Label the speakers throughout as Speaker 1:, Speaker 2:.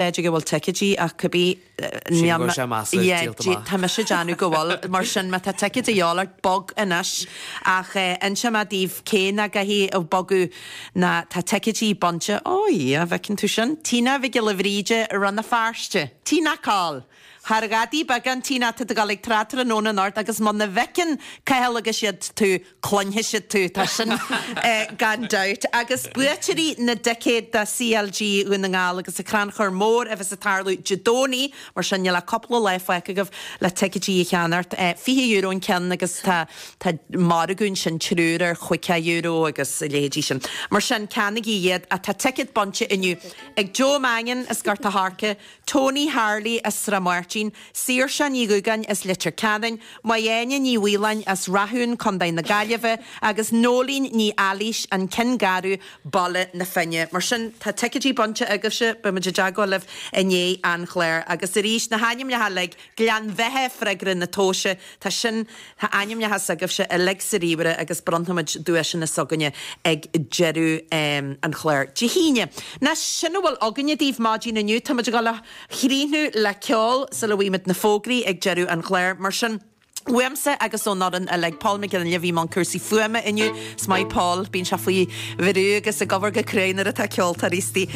Speaker 1: B'fhéidir go bhfuil ticéidí ach cibé
Speaker 2: Sílim go bhfuil sé measartha díolta amach.
Speaker 1: Tá mise ag déanamh go bhfuil, mar sin má tá ticéid a dhíobháil ort, bog anois. Ach inseoidh mé daoibh cé nach gcaithfidh bogadh ná tá ticéidí bainte, ó a Dhia, bhfeiceann tú sin? Tina Mhic Giolla Bhríde, Rann na Feirste. Tina Coll! Thar ghadaí beagán, Tina, tá tú ag dul ag trad tráthnóna anocht agus muna bhfeiceann Cathal agus iad tú, cluinfidh siad tú, tá sin gan dabht. Agus buaiteoirí na dticéad do CLG Dhún na nGall agus an Crannchur Mór a bheas ag tarlú Dé Domhnaigh, mar sin níl ach cúpla lá fágtha agaibh le ticéidí a cheannacht. €20 an ceann agus tá tá margadh ansin triúr ar €50 agus a leithéidí sin. Mar sin ceannaigí iad. Ach tá ticéad bainte inniu ag Joe Mannion as Gort a' Choirce, Tony Harley as Srath Máirtín, Saoirse Ní Dhúgáin as Leitir Ceanainn, Maigh-Áine Ní Mhaoláin as Rathún, Co. na Gaillimhe, agus Nóilín Ní Ealaois, An Cionn Garbh, Baile na Finne. Mar sin, tá ticéidí bainte agaibhse, beimid i dteagmháil libh i ndiaidh an chláir. Agus arís, na hainmneacha uilig, Gleann Bheatha, freagra na tomhaise, tá sin, tá ainmneacha s'agaibhse uilig sa ríomhaire agus bronnfaimid duaiseanna s'againne ag deireadh an chláir Dé hAoine. Ná sin a bhfuil againne daoibh maidin inniu. Táimid ag dul a chríochnú le ceol sula bhfaighimid na fógraí ag deireadh an chláir. Mar sin, uaimse agus ón fhoireann uilig, Paul McGinley a bhí i mbun cúrsaí fuaime inniu. Is maith Paul, bíonn sé faoi bhrú agus ag obair go cruaidh nuair atá ceoltóirí istigh.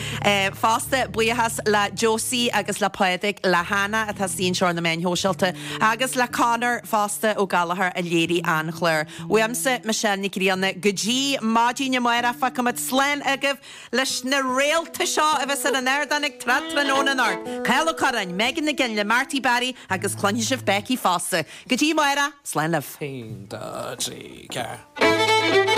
Speaker 1: Fosta, buíochas le Josie agus le Pádraig, le Hannah atá istigh anseo ar na meáin shóisialta agus le Conor fosta Ó Gallchóir a léirigh an clár. Uaimse, Michelle Nic Grianna, go dtí maidin amárach, fágfaimid slán agaibh leis na réalta seo a bheas ar an ardán ag Trad Tráthnóna anocht, Cathal Ó Curráin, Megan Nic Fhionnghaile, Marty Barry agus cluinfidh sibh Becky fosta. Go dtí amárach, slán libh.
Speaker 2: 1, 2, 3, 4.